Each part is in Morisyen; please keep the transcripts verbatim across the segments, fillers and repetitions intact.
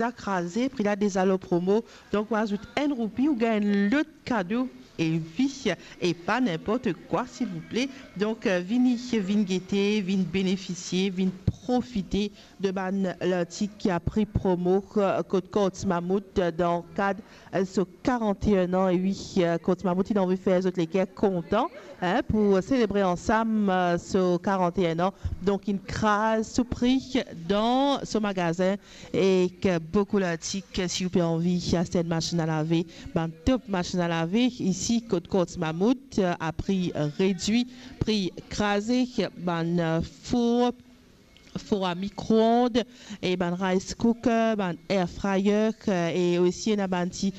deza kraze, pri la deza lor promo. Donk, ou azout enn roupi, ou gagn enn lot kado. E wi, e pa ninport kwa, silvouple. Donk, eh, vini, vinn gete, vinn benefisie, vinn profite de bann lartik ki a pri promo, eh, kot Courts Mammouth, eh, dan kad, eh, so karant-e-enn an. E wi, eh, Courts Mammouth, inn anvi fer zot leker kontan, hein, pou selebre ansam, eh, so karant-e-enn an. Donk, inn kraz so pri dan so magazin, ek boukou lartik. Si ou pe anvi aste enn masinn a lave, bann top masinn a lave isi kot Courts Mammouth, eh, a pri redwi, pri kraze, bann, eh, four, four a mikroond, e bann rice cooker, bann air fryer, eh, e osi ena bann ti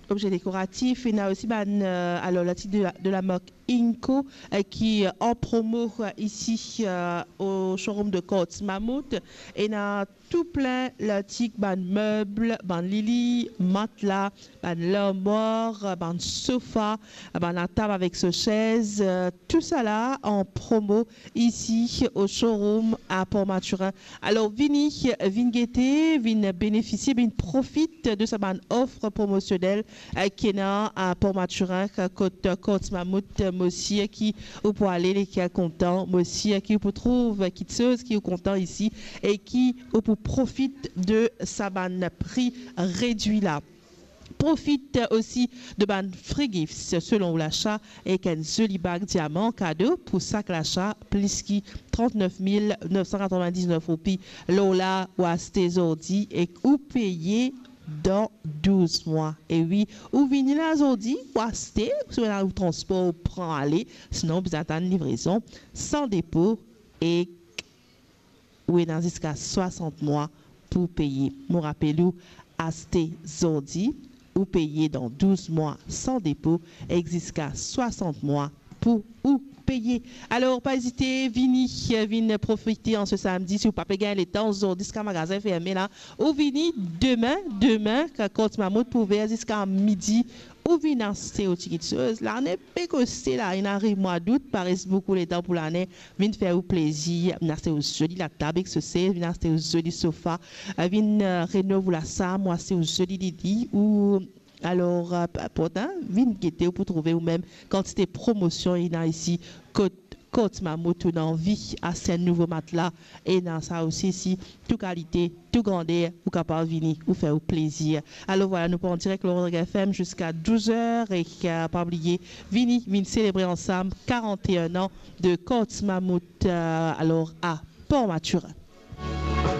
obze dekoratif, ena osi bann, eh, alor, lartik de la, de la mark Inco, eh, ki, eh, an promo, eh, isi, eh, o showroom de Courts Mammouth. Ena tou plin lartik, bann meb, bann lili, matla, bann larmwar, bann sofa, bann latab avek so sez, eh, tousala an promo isi o showroom a Port Mathurin. Alor, vini, vinn gete, vinn benefisie, vinn profit de sa bann of promosionel, eh, ki ena a Port Mathurin, kot, eh, Courts Mammouth. Mo sir ki ou pou ale leker kontan, mo sir ki ou pou trouv kitsoz ki ou kontan isi e ki ou pou profit de sa bann pri redwi la. Profit osi de bann free gifts selon ou lasa, ek enn zoli bag diaman kado pou sak lasa, plis ki trant-nef mil nef san katrovin-diz-nef roupi. Lor la, ou aste zordi ek ou peye dan douz mwa. E wi, ou vini la zordi, ou aste, si ou ena ou transpor, ou pran ale, sinon ou bizin atann livrezon san depo, e ou ena ziska swasant mwa pou peye. Mo rapel ou, aste zordi, ou peye dan douz mwa san depo, ek ziska swasant mwa pou ou peye. Alor, pa ezite, vini, vinn profite an se samdi. Si ou pa pe gagn letan zordi ziska magazin ferme la, ou vini demin, demin, kan Courts Mammouth pou ouver ziska midi, ou vinn aste ou ti kitsoz. Lane pe koste la, inn ariv mwa dout, pa res boukou letan pou lane. Vinn fer ou plezir, vinn aste ou zoli latab ek so sez, vinn aste ou zoli sofa, eh, vinn, eh, renov ou lasam, ou aste ou zoli lili, ou alor, eh, pe inport, hein, vinn gete, ou pou trouve ou mem kantite promosion ena isi kot Courts Mammouth. Ou ena anvi aste enn nouvo matla, ena sa osi isi, tou kalite, tou grander, ou kapav vini, ou fer ou plezir. Alor vwala, nou pou an direk lor Rodrig F M ziska douz er, ek, eh, pa bliye, vini, vinn selebre ansam karant-e-enn an de Courts Mammouth, eh, alor a Port Mathurin.